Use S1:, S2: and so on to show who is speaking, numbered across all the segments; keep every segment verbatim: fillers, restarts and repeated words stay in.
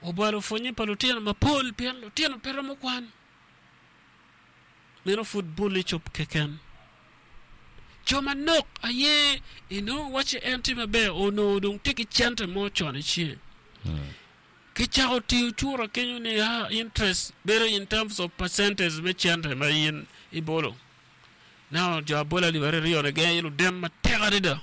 S1: Obalo pwonye pa lutino mapol pien lutino pe romo kwan. Meno pud bol icop keken. Jo manok aye inongo wacci en tye maber onongo dong tye ki cente mo con i cinge. Kicako tiyo cura kenyo ni ah, interest bedo in terms of percentage me cente ma in ibolo. Now jo abola alip aryo ni gin aye luden matek adada.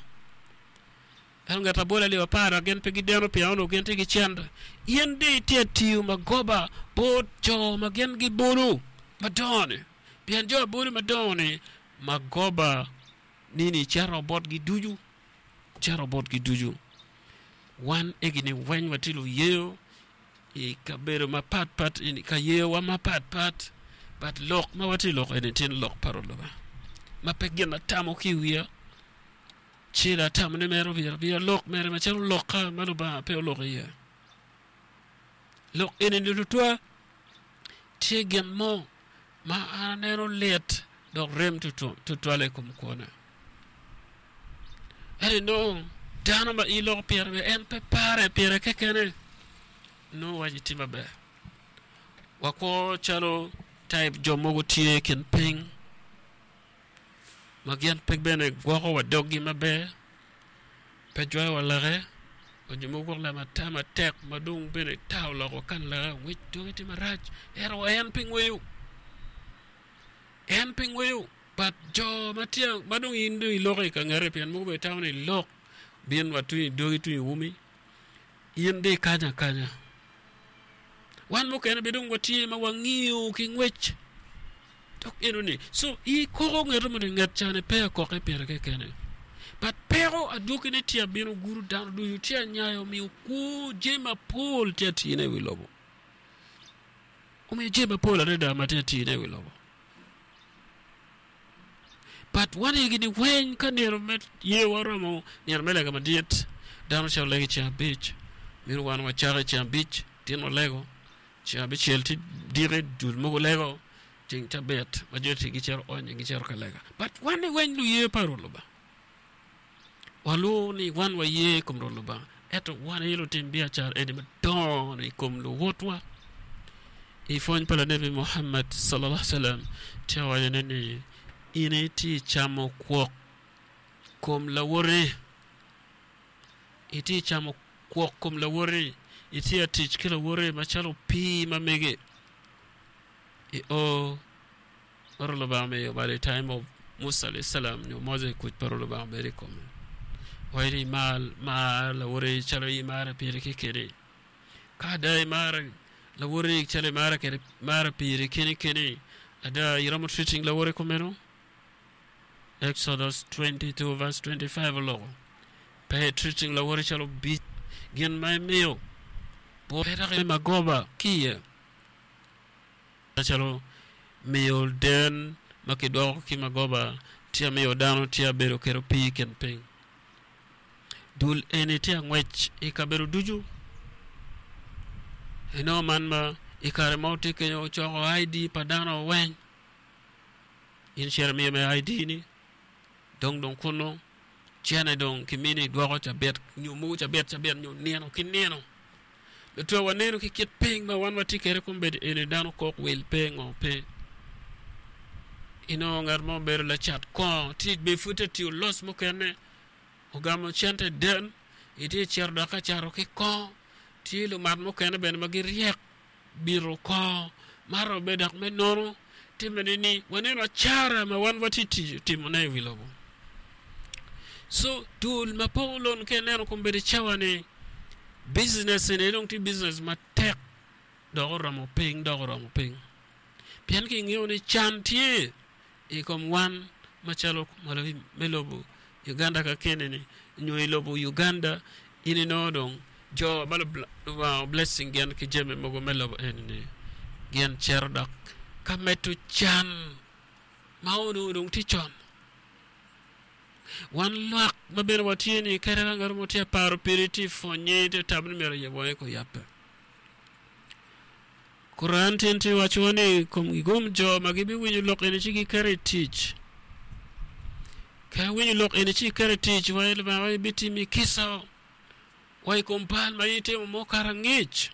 S1: Ento ngat abola alip apar dok gin pe gideno pien onongo gin tye ki cente. In dong itye tiyo magoba bot jo ma gin gibolo madongo-ni. Pien jo abolo madongo-ni magoba nini cito botgi ducu, cito botgi ducu. Wan egini weng watye luyeyo i kabedo mapatpat, i ka yeyowa mapatpat, but lok ma watye loko eni tye lok pa Lubanga ma pe gin atamo ki i wiya. Ci atamo ni mere myero abin alok mere macalo lokka ma Lubanga pe oloko iye. Lok eni tutwa tye gin mo ma an aneno lit dok rem tutwal i kom kwona. Ento inongo dano ma iloko pire bene en pe pare pire kekene nongo waci tye maber. Wakwo calo type jo mogo tye i kin piny ma gin pe bene gwoko wa doggi maber, pe jwayo wa lake, onyo mogo gwok lamo ata matek ma dong bene tar oloko kan lake ngwec doge tye marac ento en pe ngweyo en pe ngweyo but jo ma tye ma dong in dong iloko i ka ngete pien mogo bene tamo ni ilok bin wa tung i dogi tung i umi in dong ikanyo akanya wan mukene bene dong watye ma wangiyo ki ngwec dok enoni so ikoko ngeto moni nget cani pe akoke pire kekene but peko adwogine tye abino gudo dano ducu tye anyayo omiyo kwo jami mapol tye atine i wi lobo omiyo jami mapol adada ma tye atine i wi lobo but wan egini weng ka nino me yewa oromo nino me lega madit dano cito lego i ceng abic meno wan wacako i ceng abic tin walego ceng abicel tye diki dul mogo lego ceng cabit ma jo tye gicito onyo gicito ka lega but wan ni weng luye pa Rwot Lubanga walwor ni wan waye i kom Rwot Lubanga ento wan aye lutim biacara eni madongo i kom luwotwa i pwony pa lanebi Muhammad sallallahu alaihi wasallam tye wacone ni in itye camo kwok kom lawoti itye camo kwok kom lawoti itye tic ki lawoti macalo opii ma mege i o ma Rwot Lubanga omiyo by the time of Musa alayhi salam nyo Moses kuc pa Rwot Lubanga obedo i kome waci ni imar mar lawoti calo imare piri kekeni ka ada imaro lawoti calo imare kede imare piri keni keni ada iromo treating lawoti kumeno Exodus twenty-two verse twenty-five oloko pe treating lawoti calo obic gin ma imiyo pe dok magoba ki iye macalo miyo den ma kidwoko ki magoba tye miyo dano tye bedo kede opii i kin piny dul eni tye angwec i kabedo ducu inongo man ma i kare mo tye kenyo ocoko I D pa dano weng in cito imiyo me I D ni dong dong kunu cene dong kimini idwoko cabit nyo mogo cabit cabit nyo nino ki nino lutwe waneno ki kit piny ma wan watye kwede kombeddi eni dano kok wil pe ngo pe inongo ngat mo obedo lacat kongo tye be pud tye tiyo los mukene ogamo cente den itye cito dok ka cato ki kongo tye lumat mukene bene ma giryek bito kongo mato be dok me nono timme ni waneno acara ma wan watye tiyo timone i wi lobo so dul ma poko lon ka ineno kombeddi cawa ni business eni dong tye business matek dok oromo piny dok oromo piny pien kingeyo ni can tye i kom wan macalo me lobo Uganda ka kene-ni nyo i lobo Uganda in inongo dong jo ma Lubanga blessing gin ki jami mogo me lobo eni-ni gin cito dok ka medo can ma onongo dong tye con wan lwak ma bene watye ni kadi ka ngat mo tye paro piri tye pwonye tye tamo ni myero oyab wange kuyabbe Quran tye tye wacowa ni kom gigom jo ma gibiwinyo lok eni ci giketo i tic ka iwinyo lok eni ci iketo i tic wa Lubanga bitimi kica wa i kom bal ma in itimo mukato angec.